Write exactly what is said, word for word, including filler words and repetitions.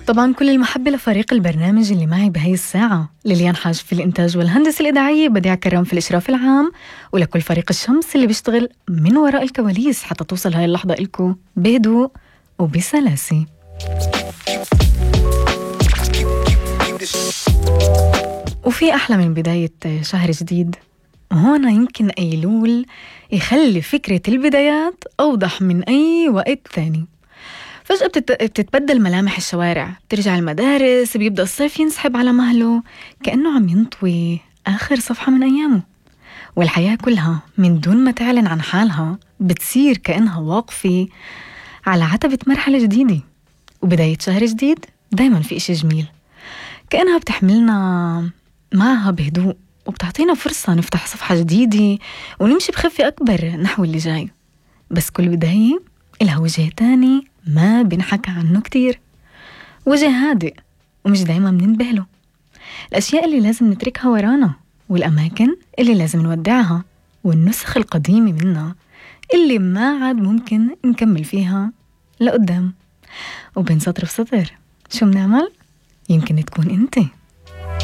طبعا كل المحبة لفريق البرنامج اللي معي بهاي الساعة، ليليان حاج في الإنتاج والهندسة الإذاعية، بديع كرام في الإشراف العام، ولكل فريق الشمس اللي بيشتغل من وراء الكواليس حتى توصل هاي اللحظة إلكو بهدوء وبسلاسة. وفي أحلى من بداية شهر جديد، وهنا يمكن أيلول يخلي فكرة البدايات أوضح من أي وقت ثاني. فجأة بتتبدل ملامح الشوارع، بترجع المدارس، بيبدأ الصيف ينسحب على مهله كأنه عم ينطوي آخر صفحة من أيامه، والحياة كلها من دون ما تعلن عن حالها بتصير كأنها واقفة على عتبة مرحلة جديدة. وبداية شهر جديد دايما في إشي جميل، كأنها بتحملنا معها بهدوء وبتعطينا فرصة نفتح صفحة جديدة ونمشي بخفة أكبر نحو اللي جاي. بس كل بداية إلها وجه تاني ما بنحكى عنه كتير، وجه هادئ ومش دايما بننتبه له. الأشياء اللي لازم نتركها ورانا، والأماكن اللي لازم نودعها، والنسخ القديمة منها اللي ما عاد ممكن نكمل فيها لقدام. وبين سطر وسطر شو بنعمل؟ يمكن تكون انت.